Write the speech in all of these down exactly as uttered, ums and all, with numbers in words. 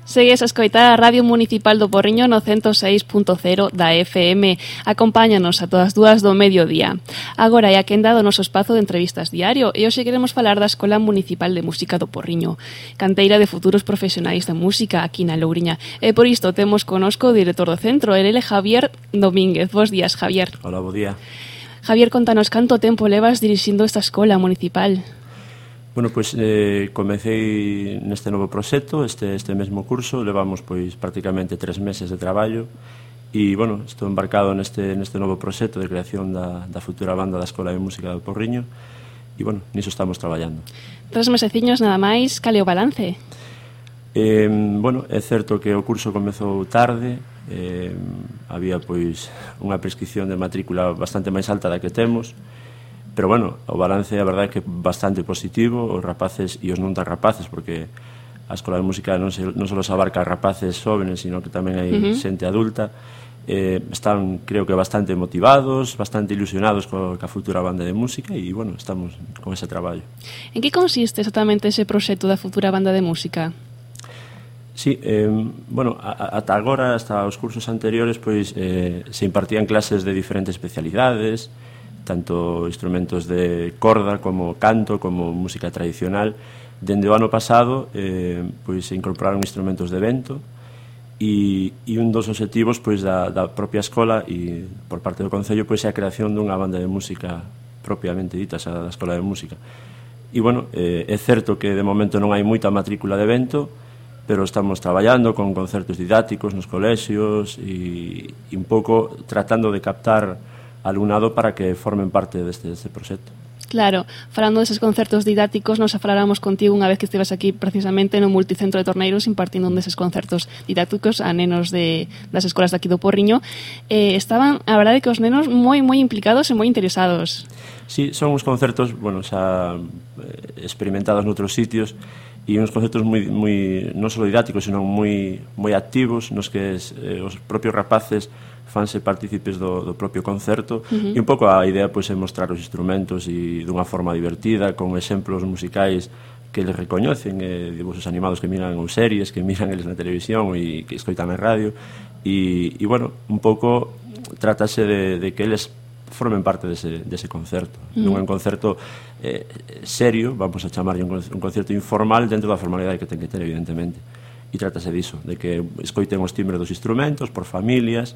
Segues a escoitar a Radio Municipal do Porriño no ciento seis punto cero da F M. Acompáñanos a todas dúas do mediodía. Agora é a quenda do noso espazo de entrevistas diario e hoxe queremos falar da Escola Municipal de Música do Porriño, canteira de futuros profesionais da música aquí na Louriña. E por isto temos conosco o director do centro, el é Javier Domínguez. Bos días, Javier. Hola, bo día. Javier, contanos canto tempo levas dirixindo esta escola municipal? Bueno, pois eh, comecei neste novo proxecto, este, este mesmo curso, levamos pois prácticamente tres meses de traballo e, bueno, estou embarcado neste, neste novo proxecto de creación da, da futura banda da Escola de Música do Porriño e, bueno, niso estamos traballando. Tres meseciños nada máis, cal é o balance? Eh, bueno, é certo que o curso comezou tarde, eh, había pois unha prescripción de matrícula bastante máis alta da que temos, pero bueno, o balance a verdade é que é bastante positivo, os rapaces e os non tan rapaces, porque a Escola de Música non, se, non só se abarca a rapaces jóvenes, sino que tamén hai uh-huh. xente adulta, eh, están, creo que, bastante motivados, bastante ilusionados co, ca futura banda de música e, bueno, estamos con ese traballo. En que consiste exactamente ese proxecto da futura banda de música? Sí, eh, bueno, ata agora, hasta os cursos anteriores, pois eh, se impartían clases de diferentes especialidades, tanto instrumentos de corda como canto, como música tradicional. Dende o ano pasado eh, pois se incorporaron instrumentos de vento e, e un dos obxectivos pois, da, da propia escola e por parte do Concello pois, é a creación dunha banda de música propiamente dita, xa da Escola de Música. E, bueno, eh, é certo que de momento non hai moita matrícula de vento, pero estamos traballando con concertos didácticos nos colexios e, e un pouco tratando de captar alumnado para que formen parte deste, deste proxecto. Claro, falando deses concertos didácticos, nos faláramos contigo unha vez que estivas aquí precisamente no multicentro de Torneiros impartindo un deses concertos didácticos a nenos de, das escolas de aquí do Porriño. Eh, estaban, a verdade, que os nenos moi, moi implicados e moi interesados. Sí, son uns concertos, bueno, xa experimentados noutros sitios e uns concertos moi, moi non só didácticos, senón moi, moi activos, nos que eh, os propios rapaces fanse partícipes do, do propio concerto uh-huh. e un pouco a idea pois, é mostrar os instrumentos e dunha forma divertida, con exemplos musicais que eles recoñecen, eh, dibujos animados que miran ou series que miran eles na televisión e que escoitan na radio e, e bueno, un pouco trátase de, de que eles formen parte dese, dese concerto uh-huh. non é un concerto eh, serio, vamos a chamarlle un, un concerto informal dentro da formalidade que ten que ter, evidentemente, e trátase diso, de que escoiten os timbres dos instrumentos por familias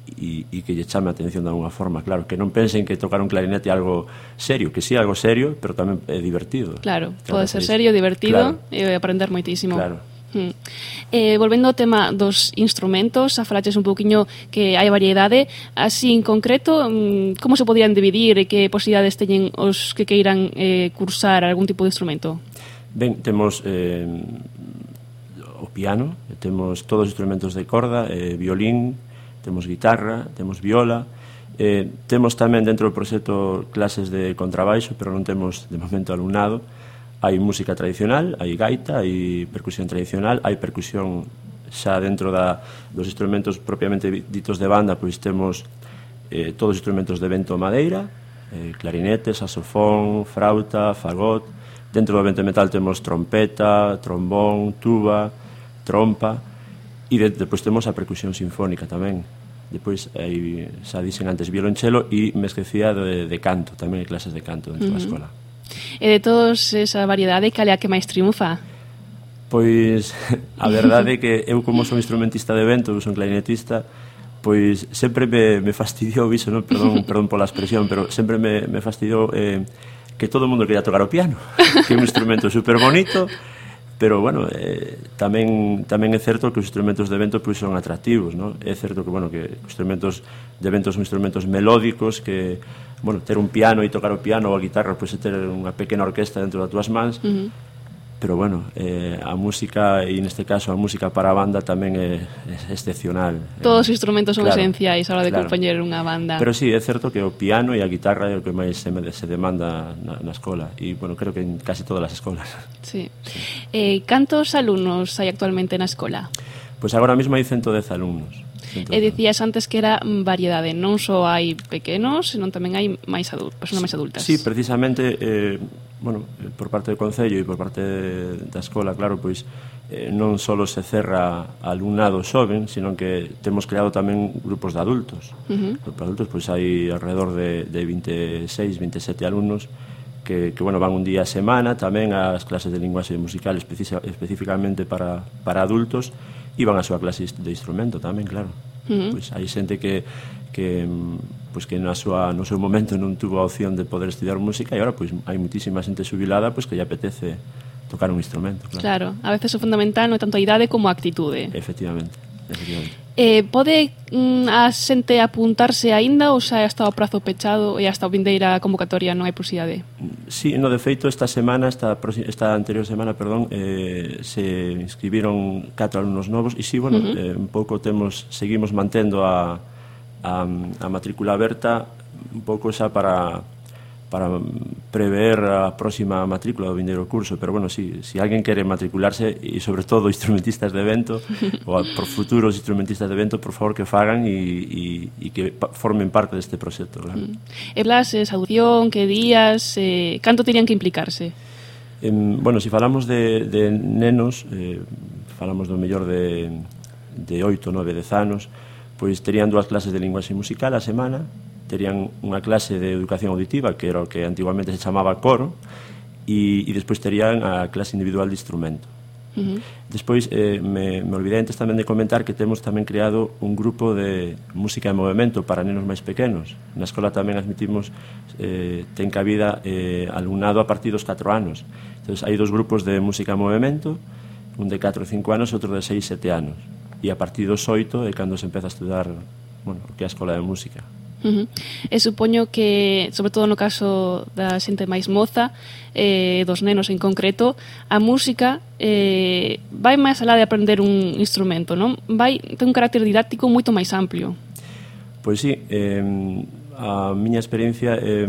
e, e que lle chame a atención de alguna forma, claro, que non pensen que tocar un clarinete é algo serio, que sí é algo serio, pero tamén é divertido. Claro, pode ser serio, divertido claro. E aprender moitísimo. Claro. Hmm. Eh, volvendo ao tema dos instrumentos, a falaches un pouquiño que hai variedade, así en concreto, como se podían dividir e que posibilidades teñen os que queiran eh, cursar algún tipo de instrumento? Ben, temos eh, o piano, temos todos os instrumentos de corda, eh, violín, temos guitarra, temos viola, eh, temos tamén dentro do proxecto clases de contrabaixo, pero non temos de momento alumnado. Hai música tradicional, hai gaita, hai percusión tradicional, hai percusión xa dentro da, dos instrumentos propiamente ditos de banda, pois temos eh, todos os instrumentos de vento madeira, eh, clarinete, saxofón, frauta, fagot. Dentro do vento metal temos trompeta, trombón, tuba, trompa. E de, depois temos a percusión sinfónica tamén. Depois, aí, xa dixen antes, violonchelo e me esquecía de, de canto, tamén hai clases de canto dentro uh-huh. da escola. E de todos esa variedade, cal é a que máis triunfa? Pois, a verdade é que eu como son instrumentista de vento, eu son clarinetista, pois sempre me, me fastidiou iso, non? Perdón, perdón pola expresión, pero sempre me, me fastidiou eh, que todo o mundo quería tocar o piano, que é un instrumento super bonito, pero, bueno, eh, tamén tamén é certo que os instrumentos de vento pois, son atractivos, non? É certo que, bueno, que os instrumentos de vento son instrumentos melódicos que, bueno, ter un piano e tocar o piano ou a guitarra pois é ter unha pequena orquesta dentro das túas mans, uh-huh. pero, bueno, eh, a música, e neste caso a música para a banda tamén é, é excepcional. Todos os instrumentos son claro, esenciais a hora de claro. compoñer unha banda. Pero sí, é certo que o piano e a guitarra é o que máis se, se demanda na, na escola e, bueno, creo que en casi todas as escolas. Sí. sí. Eh, cantos alumnos hai actualmente na escola? Pois agora mesmo hai ciento dez alumnos. E dicías antes que era variedade, non só hai pequenos, senón tamén hai máis adultos, persoas máis adultas. Sí, precisamente, eh, bueno, por parte do Concello e por parte da escola, claro, pois eh, non só se cerra alumnado xoven, sino que temos creado tamén grupos de adultos. Uh -huh. Para adultos, pois hai alrededor de, de veintiséis, veintisiete alumnos que, que bueno, van un día a semana tamén ás clases de linguaxe musical especificamente para, para adultos e van a súa clase de instrumento tamén, claro. Uh -huh. Pois hai xente que, que, pois que na súa, no seu momento non tuvo a opción de poder estudiar música e agora pois hai muitísima xente xubilada pois que lle apetece tocar un instrumento. Claro, claro, a veces o fundamental non é tanto a idade como a actitude. Efectivamente, efectivamente. Eh, pode mm, a xente apuntarse aínda ou xa está o prazo pechado e hasta a vindeira convocatoria non hai posibilidade? Sí, no, de feito, esta semana, esta, esta anterior semana, perdón, eh, se inscribiron catro alumnos novos e sí, bueno, uh -huh. eh, un pouco temos, seguimos mantendo a, a, a matrícula aberta un pouco xa para para prever a próxima matrícula do vindeiro curso, pero bueno, si, si alguén quere matricularse e sobre todo instrumentistas de evento ou a, por futuros instrumentistas de evento, por favor que fagan e, e, e que pa, formen parte deste proxecto, claro. Mm. E clases, audición, que días, eh, canto terían que implicarse? Eh, bueno, si falamos de, de nenos, eh, falamos do mellor de, de oito, nove, dez anos, pois terían dúas clases de linguaxe musical a semana, terían unha clase de educación auditiva, que era o que antiguamente se chamaba coro, e, e despois terían a clase individual de instrumento. Uh -huh. Despois, eh, me, me olvidei antes tamén de comentar que temos tamén creado un grupo de música de movimento para nenos máis pequenos. Na escola tamén admitimos, eh, ten cabida eh, alumnado a partir dos catro anos. Entón, hai dos grupos de música de movimento, un de catro e cinco anos e outro de seis e sete anos. E a partir dos oito é cando se empeza a estudar, bueno, o que é a escola de música. Uh -huh. E supoño que, sobre todo no caso da xente máis moza, eh, dos nenos en concreto, a música eh, vai máis alá de aprender un instrumento, non? Vai ten un carácter didáctico moito máis amplio. Pois sí, eh, a miña experiencia eh,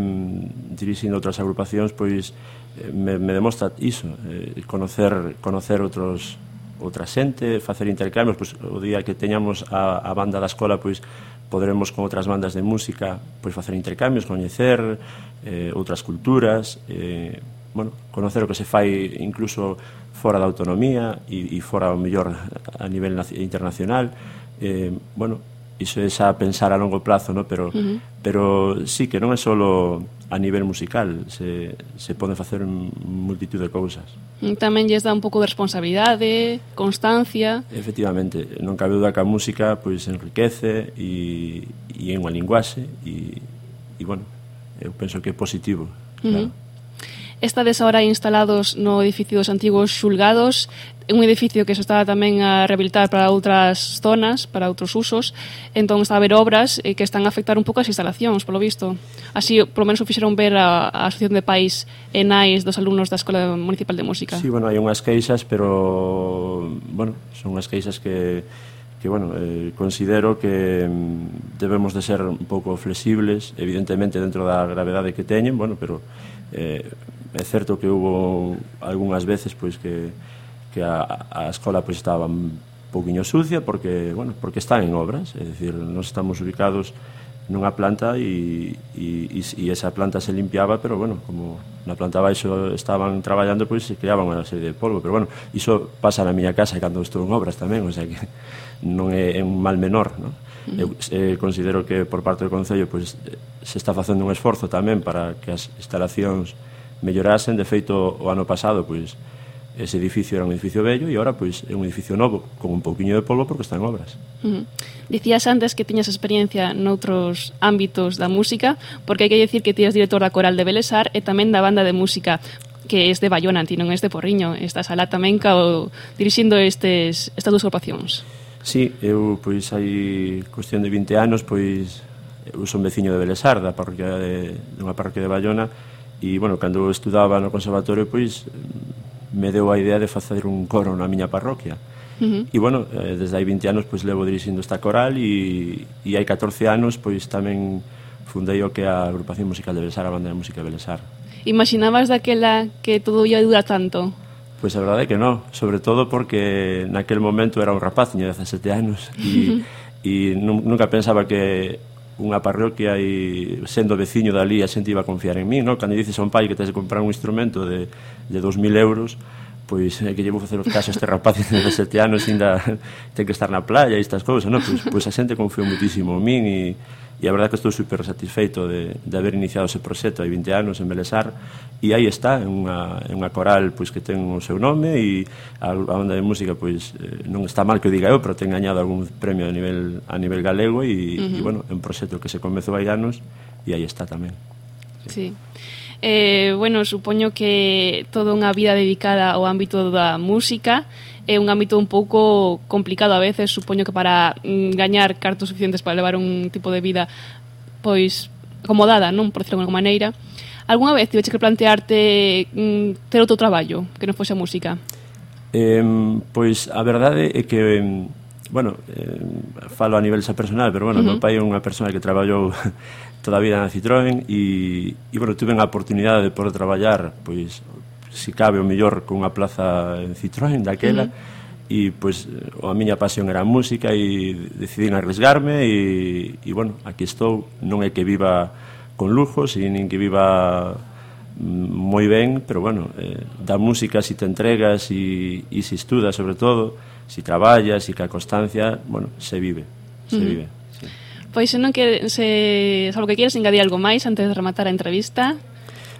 dirixindo outras agrupacións pois eh, me, me demostra iso, eh, conocer, conocer outros outra xente, facer intercambios, pois o día que teñamos a, a banda da escola pois poderemos con outras bandas de música pois facer intercambios, coñecer eh, outras culturas, eh, bueno, conocer o que se fai incluso fora da autonomía e, e fora o mellor a nivel internacional. Eh, bueno, iso é xa pensar a longo plazo, ¿no? Pero, uh -huh. pero sí que non é só a nivel musical, se, se pode facer multitud de cousas. Tamén lles dá un pouco de responsabilidade, constancia. Efectivamente, non cabe duda que a música pois enriquece e, e é unha linguaxe e, e bueno, eu penso que é positivo, claro. Uh -huh. Estades ahora instalados no edificio dos antigos xulgados, un edificio que se está tamén a rehabilitar para outras zonas, para outros usos, entón está a haber obras que están a afectar un pouco as instalacións, polo visto. Así, polo menos o fixeron ver a, a Asociación de Pais e Nais dos alumnos da Escola Municipal de Música. Sí, bueno, hai unhas queixas, pero, bueno, son unhas queixas que, que bueno, eh, considero que debemos de ser un pouco flexibles, evidentemente dentro da gravedade que teñen, bueno, pero eh, é certo que hubo algunhas veces pois que que a, a escola pois estaba un pouquiño sucia porque, bueno, porque están en obras, é dicir, nós estamos ubicados nunha planta e, e, e esa planta se limpiaba, pero bueno, como na planta baixo estaban traballando, pois se creaban unha serie de polvo, pero bueno, iso pasa na miña casa cando estou en obras tamén, o sea que non é un mal menor, non? Eu eh, considero que por parte do Concello pois se está facendo un esforzo tamén para que as instalacións mellorasen. De feito, o ano pasado pois ese edificio era un edificio vello e agora pois é un edificio novo con un pouquiño de polvo porque está en obras. Uh -huh. Dicías antes que tiñas experiencia noutros ámbitos da música, porque hai que dicir que ti eres director da Coral de Belesar e tamén da banda de música que é de Baiona, ti non é de Porriño. Estás alá tamén cao dirixindo estes, estas dúas agrupacións. Sí, eu pois hai cuestión de vinte anos pois eu son veciño de Belesar, da parroquia de, de unha parroquia de Baiona. E, bueno, cando estudaba no conservatorio, pois, me deu a idea de facer un coro na miña parroquia. Uh -huh. E, bueno, desde hai vinte anos, pois, levo dirixindo esta coral e, e hai catorce anos, pois, tamén fundei o que é a agrupación musical de Belesar, a banda de música de Belesar. Imaginabas daquela que todo ia durar tanto? Pois a verdade é que non, sobre todo porque naquel momento era un rapaz, tiña dezasete anos, e, e nunca pensaba que unha parroquia e sendo veciño dali a xente iba a confiar en mí, no? Cando dices a un pai que tens de comprar un instrumento de, de dos mil euros, pois é que llevo a facer os casos a este rapaz de dezasete anos ainda ten que estar na playa e estas cousas, no? Pois, pois a xente confiou muitísimo en min e, e a verdade que estou super satisfeito de, de haber iniciado ese proxecto hai vinte anos en Belesar e aí está, é unha, é unha coral pois que ten o seu nome e a, a banda de música pois non está mal que o diga eu, pero ten gañado algún premio a nivel, a nivel galego e, uh-huh. e bueno, é un proxecto que se comezou hai anos e aí está tamén. Sí. Eh, bueno, supoño que toda unha vida dedicada ao ámbito da música é un ámbito un pouco complicado a veces, supoño que para mm, gañar cartos suficientes para levar un tipo de vida pois acomodada, non, por decirlo de alguma maneira. Alguna vez tiveche que plantearte mm, ter outro traballo que non fose a música? Eh, pois a verdade é que bueno, eh, falo a nivel xa personal, pero bueno, uh-huh. meu pai é unha persona que traballou toda a vida na Citroën e, e bueno, tuve a oportunidade de poder traballar pois, si cabe o mellor con unha plaza en Citroën daquela uh-huh. e pois a miña pasión era a música e decidín arriesgarme e, e bueno, aquí estou, non é que viva con lujos e nin que viva moi ben, pero bueno, eh, da música si te entregas e, e si estudas sobre todo, si traballas e ca constancia, bueno, se vive, se uh-huh. vive. Sí. Pois senón que se, salvo que quieres engadir algo máis antes de rematar a entrevista,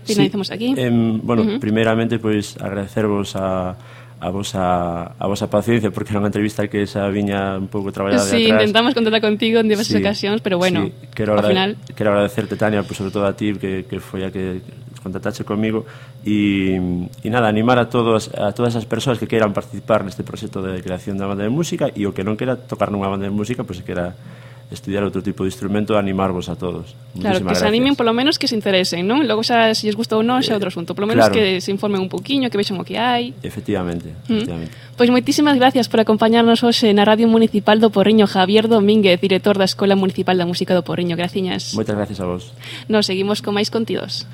finalicemos sí, aquí. Eh, bueno, uh-huh. primeiramente pois agradecervos a a vosa, a vosa paciencia porque era unha entrevista que xa viña un pouco traballada sí, de atrás. Sí, intentamos contactar contigo en diversas sí, ocasións, pero bueno, sí, quero, ao final... quero agradecerte, Tania, pues, sobre todo a ti que, que foi a que contactaste comigo e, e nada, animar a todos a todas as persoas que queiran participar neste proxecto de creación da banda de música e o que non quera tocar nunha banda de música, pois pues, que quera estudiar outro tipo de instrumento, animarvos a todos. Claro, que se animen polo menos que se interesen, non? Logo xa se lles gusta ou non, xa outro asunto. Polo menos claro. Que se informen un pouquiño, que vexan o que hai. Efectivamente, efectivamente. Mm. Pois moitísimas gracias por acompañarnos hoxe na Radio Municipal do Porriño, Javier Domínguez, director da Escola Municipal da Música do Porriño. Graciñas. Moitas gracias a vos. Nos seguimos con máis contidos.